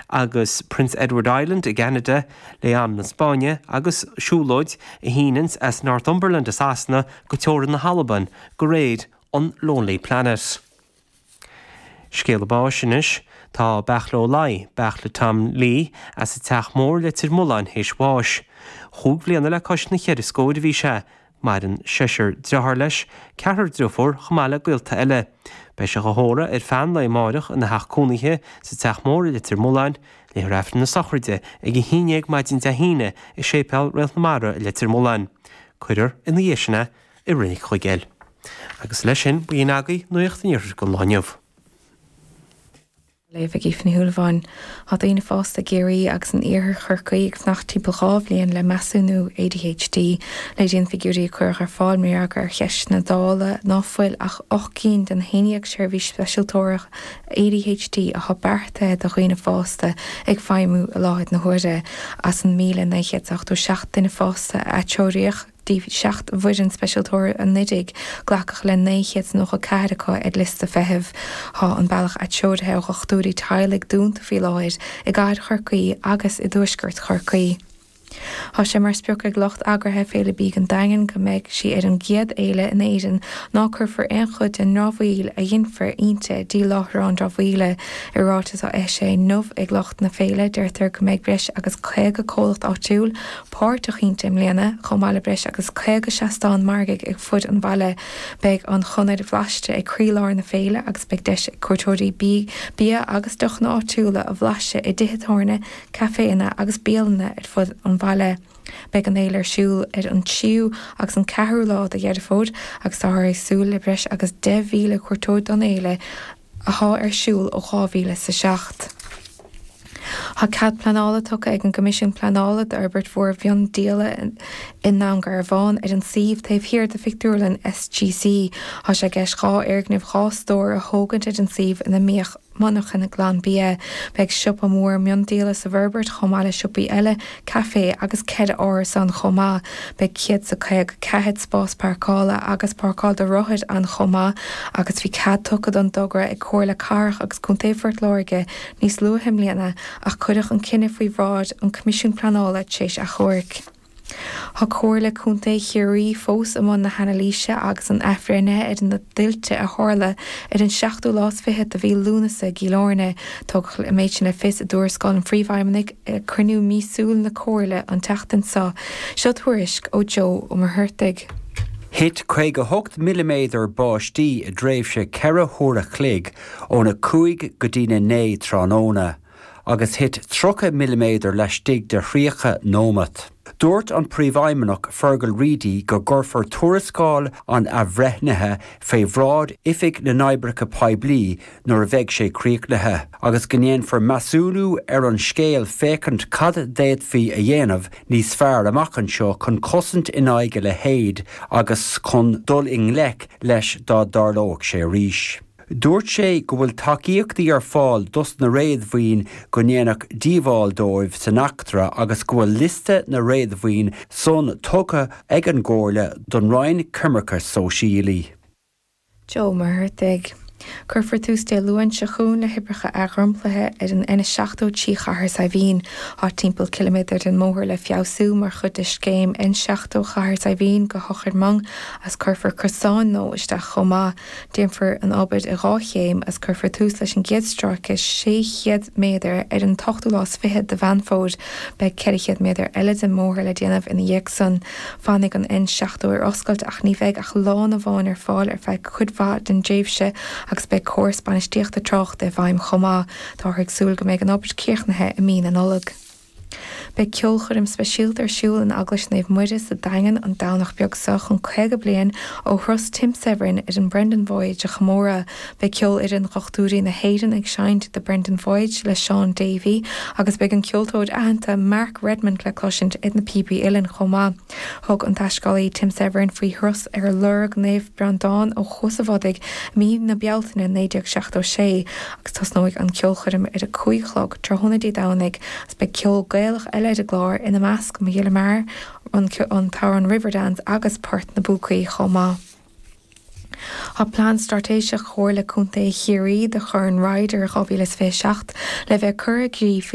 agus Prince Edward Island i gCeanada, Leon na Spáinne agus siúlóid a shíneanns as Northumberland i Sasana go teorainn na hAlban de réir an Lonely Planet. Scéala báis anois. Tá Beartla Ó Laoi, Beartla Tom Lee, as an Teach Mór, Leitir Mealláin, théis bháis. Chúig bhliana le cois na cheithre scóir a bhí sé. Maireann seisear dearthár leis, ceathrar driofúr, chomh maith le gaolta eile. Beidh sé dhá thórramh ar feadh an lae amáireach ina theach cónaithe sa Teach Mór i Leitir Mealláin. Léifear Aifreann na sochraide ag 11 maidin Dé hAoine i Séipéal Réalt na Mara i Leitir Mealláin. Cuirfear ina dhiaidh sin é i Reilig Chuigéil. Agus leis sin, b'in agaibh Nuacht an Iarthair don lá inniu. Á léamh ag Aoife Ní Shúilleabháin. Tá daoine fásta i gCiarraí agus in iarthar Chorcaí ag fanacht timpeall 2 bhliain le measúnú ADHD. Léiríonn figiúirí a cuireadh ar fáil mar fhreagra ar cheisteanna Dála ná fuil ach 8 gcinn den 11 seirbhís speisialtóra ADHD atá beartaithe do dhaoine fásta ag feidhmiú i láthair na huaire. As an 1,987 duine fásta a atreoraíodh, dtí 7 bhfoireann speisialtóra anuraidh, glacadh le 994 acu ar liosta feithimh. Tá an bealach atreoraithe ó dhochtúirí teaghlaigh dúnta faoi láthair i gcathair Chorcaí agus i dtuaisceart Chorcaí. Tá sé mar sprioc ag lucht eagraithe Féile Bídh an Daingin go mbeidh sí ar an gcéad fhéile in Éirinn ná cuirfear aon chuid den ndramhaíl a ghinfear inti dtí láithreán dramhaíola. I ráiteas á eisithe inniu ag lucht na féile, deirtear go mbeidh breis agus 50 comhlacht áitiúil, páirteach inti i mbliana, chomh maith le breis agus 50 seastán margaidh ar fud an bhaile. Beidh an Chonair Bhlaiste ag croílár na féile agus beidh deis ag cuairteoirí bia agus deochanna áitiúla a bhlaiseadh i dtithe tábhairne, caiféanna agus bialanna ar fud an bhaile. Beidh an fhéile ar siúl ar an 3ú agus an 4ú lá de Dheireadh Fómhair agus táthar ag súil le breis agus 10,000 cuairteoir don fhéile, athá ar siúl ó 2007. Tá cead pleanála tugtha ag an gCoimisiún Pleanála d'fhorbairt mhór mhiondíola i nDún Garbhán ar an suíomh taobh thiar de phictiúrlann SGC. Tá sé i gceist 2 fhoirgneamh 2 stór a thógaint ar an suíomh ina mbíodh monarchana Glanbia. Beidh siopa mór miondíola sa bhforbairt chomh maith le siopaí eile, caifé agus 4 árasán chomh maith. Beidh 154 spás páirceála agus páirceáil do rothair ann chomh maith agus bhí cead tugtha don dtogra ag Comhairle Cathrach agus Contae Phort Láirge níos luaithe i mbliana ach cuireadh an cinneadh faoi bhráid an Choimisiúin Pleanála tar éis achomhairc. Tá Comhairle Contae Chiarraí fós i mbun na hanailíse agus an athbhreithnithe ar na tuilte a tharla ar an seachtú lá is fichead de mhí Lúnasa i gCill Airne. Tugadh an méid sin le fios i dtuarascáil an Phríomhfheidhmeannaigh ag cruinniú míosúil na Comhairle an tseachtain seo. Seo tuairisc ó Joe Ó Muircheartaigh. Thit 58 milliméadar báistí i dtréimhse 4 huaire a chloig óna 5 go dtína 9 tráthnóna. agus thit 30 milliméadar laistigh de 30 nóimeat. Dúirt an Príomhfheidhmeannach Fergal Reidy go gcuirfear tuarascáil an athbhreithnithe fé bhráid Oifig na nOibreacha Poiblí nuair a bheidh sé críochnaithe agus go ndéanfar measúnú ar an scéal féachaint cad d'fhéadfaí a dhéanamh níos fearr amach anseo chun cosaint in aghaidh a leithéid agus chun dul i ngleic leis dá dtarlódh sé arís. Dúirt sé go bhfuil tacaíochtaí ar fáil dos na réadmhaoin go ndéanadh díobháil dóibh san eachtra agus go bhfuil liosta na réadmhaoin san tugtha ag an gComhairle don Roinn Coimirce Sóisialaí. Joe Ó Muircheartaigh. Cuirfear tús Dé Luain seo chugainn le hoibreacha athdhromchlaithe ar an N70 trí Chathair Saidhbhín. Tá timpeall ciliméadar den mbóthar le feabhsú mar chuid de scéim N70 Chathair Saidhbhín go hEochair Mhong agus cuirfear crosáin nua isteach chomh maith. Déanfar an obair i 2 chéim agus cuirfear tús leis an gcéad stráice 600 méadar ar an t-ochtú lá is fiche de Mheán Fómhair. Beidh 400 méadar eile den mbóthar le déanamh ina dhiaidh san. Fanfaidh an N70 ar oscailt ach ní bheidh ach lána amháin ar fáil ar feadh cuid mhaith den dtréimhse agus beidh córas bainistíochta tráchta i bhfeidhm chomh maith. Táthar ag súil go mbeidh an obair críochnaithe i mí na Nollag. Beidh ceolchoirm speisialta ar siúl in Eaglais Naomh Muire sa Daingean an Domhnach beag seo chun 50 bliain ó thuras Tim Severin ar an Brendan Voyage a chomóradh. Beidh Ceolfhoireann Dhochtúirí na hÉireann ag seinnt The Brendan Voyage le Shaun Davey agus beidh an ceoltóir aitheanta Mark Redmond le cloisint ar na píobaí uilleann chomh maith. Thug an taiscéalaí Tim Severin faoi thuras ar lorg Naomh Breandán ó Chuas a' Bhodaigh i mí na Bealtaine 1976 agus tosnóidh an ceolchoirm ar a 5 a chlog tráthnóna Dé Domhnaigh agus beidh ceol Gaelach eile ar an gclár, ina measc Mo Ghile Mear, an t-amhrán Riverdance agus Port na bPúcaí chomh maith. Tá Plean Straitéiseach Chomhairle Contae Chiarraí do Chorn Ryder 2027 le bheith curtha i gcrích.